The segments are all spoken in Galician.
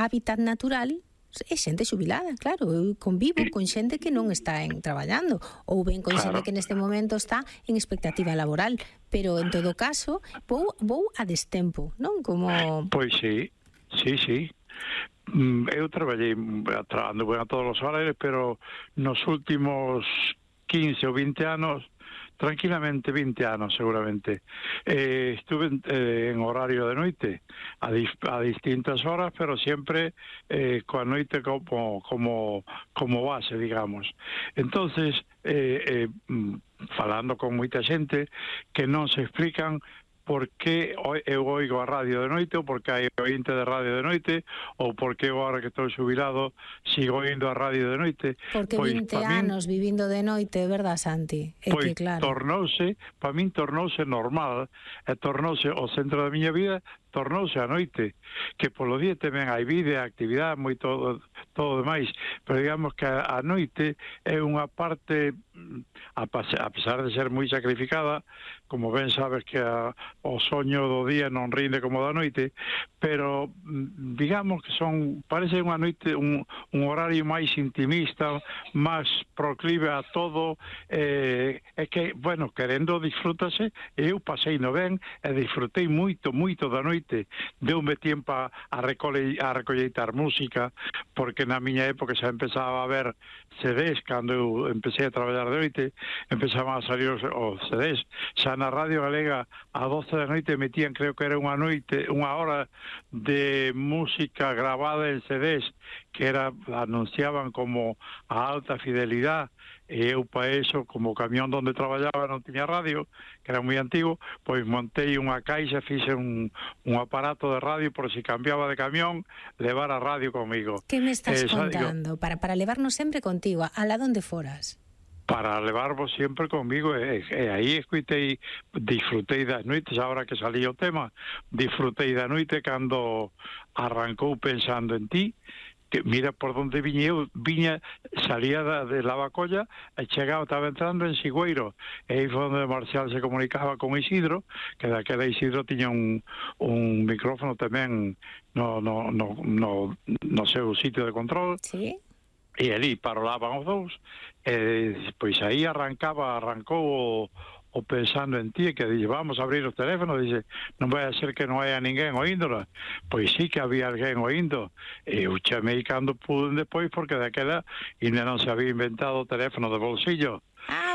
hábitat natural é xente xubilada, claro. Eu convivo con xente que non está traballando, ou ben con xente que neste momento está en expectativa laboral, pero en todo caso vou a destempo, non? Como... Pois sí. Eu traballei ando ben a todos os horarios, pero nos últimos 15 ou 20 anos, tranquilamente 20 anos seguramente, estuve en horario de noite a distintas horas, pero sempre coa noite como base, digamos. Entonces, falando con moita xente que non se explican por que eu oigo a radio de noite, ou por que hai ointe de radio de noite, ou por que eu, agora que estou xubilado, sigo oindo a radio de noite. Porque pois, 20 anos vivindo de noite, verdad, Santi? É pois, que claro. Para min tornouse normal, e tornouse o centro da miña vida, tornouse a noite, que polo día tamén hai vida, actividade, moito todo demais, pero digamos que a noite é unha parte, a pesar de ser moi sacrificada, como ben sabes que o soño do día non rinde como da noite, pero digamos que parece unha noite un horario máis intimista, máis proclive a todo, é que, bueno, querendo disfrútase, eu pasei no ben e disfrutei moito da noite. Deume tempo a recolleitar música, porque na miña época xa empezaba a ver CDs, cando eu empecé a traballar de noite, empezaban a salir os CDs. Xa na Radio Galega a 12 da noite metían, creo que era unha hora de música grabada en CDs, que anunciaban como a alta fidelidade, e eu para eso, como o camión onde traballaba non tiña radio, que era moi antigo, pois montei unha caixa, fixe un aparato de radio por si cambiaba de camión, levar a radio comigo. Que me estás contando? Para levarnos sempre contigo, a la donde foras? Para levarvos sempre comigo, e aí disfrutei das noites, agora que salí o tema, disfrutei da noite cando arrancou Pensando en ti, que mira por onde salía de Lavacolla e chegaba, estaba entrando en Sigüeiro, e aí foi onde Marcial se comunicaba con Isidro, que daquela Isidro tiña un micrófono tamén no seu sitio de control. Sí. E ali parolaban os dous, e pois aí arrancou o Pensando en ti, que dixe, vamos a abrir os teléfonos, dixe, non vai a ser que non haya ninguén oíndola. Pois sí que había alguén oíndo, e eu chamei cando pude despois, porque daquela ainda non se había inventado o teléfono de bolsillo.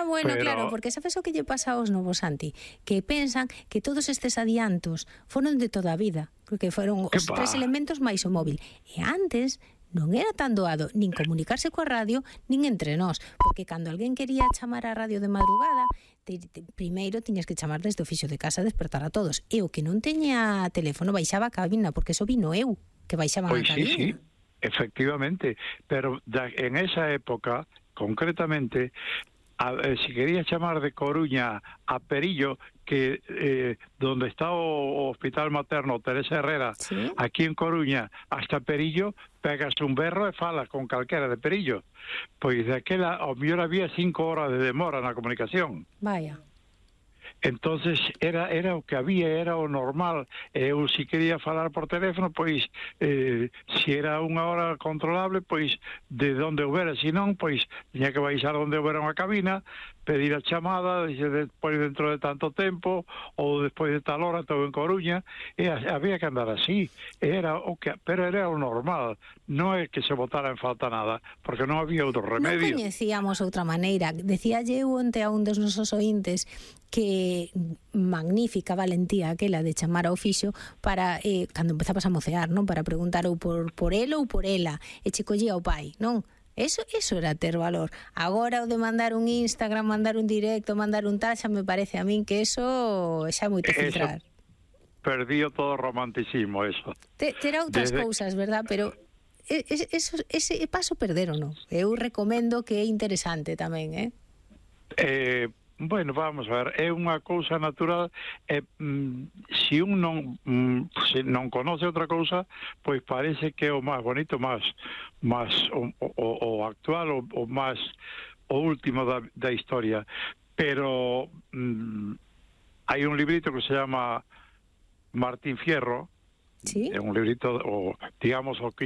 Bueno, claro, porque sabes o que lle pasa aos novos, Santi? Que pensan que todos estes adiantos foron de toda a vida, porque foron os tres elementos máis o móvil. E antes non era tan doado nin comunicarse coa radio, nin entre nós, porque cando alguén quería chamar a radio de madrugada, primeiro tiñas que chamar desde o fixo de casa a despertar a todos. E o que non teña teléfono baixaba a cabina, porque eso vino eu, que baixaban a cabina. Sí, efectivamente, pero en esa época, concretamente, si quería chamar de Coruña a Perillo, que donde está o Hospital Materno Teresa Herrera, ¿sí? Aquí en Coruña, hasta Perillo, pegas un berro e falas con calquera de Perillo. Pois daquela, ao mellor había 5 horas de demora na comunicación. Vaya. Entonces era o que había, era o normal. Eu si quería falar por teléfono, pois si era unha hora controlable, pois de onde houbera, se non, pois tiña que baixar onde houbera unha cabina, pedir a chamada, despois dentro de tanto tempo, ou despois de tal hora estou en Coruña, e había que andar así. Pero era o normal, non é que se botara en falta nada, porque non había outro remedio. Non coñecíamos outra maneira. Decía eu onte a un dos nosos ointes que magnífica valentía aquela de chamar ao fixo para, cando empezabas a mocear, non? Para preguntar ou por el ou por ela, e che collía o pai, non? Eso era ter valor. Agora o de mandar un Instagram, mandar un directo, mandar un tal, xa me parece a min que eso xa é moito filtrar. Perdío todo o romanticismo, eso. Terá outras cousas, verdad? Pero ese paso perderon, non? Eu recomendo que é interesante tamén, Bueno, vamos a ver, é unha cousa natural, se un non conoce outra cousa, pois parece que é o máis bonito, máis o actual, o máis o último da historia, pero hai un librito que se llama Martín Fierro, ¿sí? É un librito, digamos, o que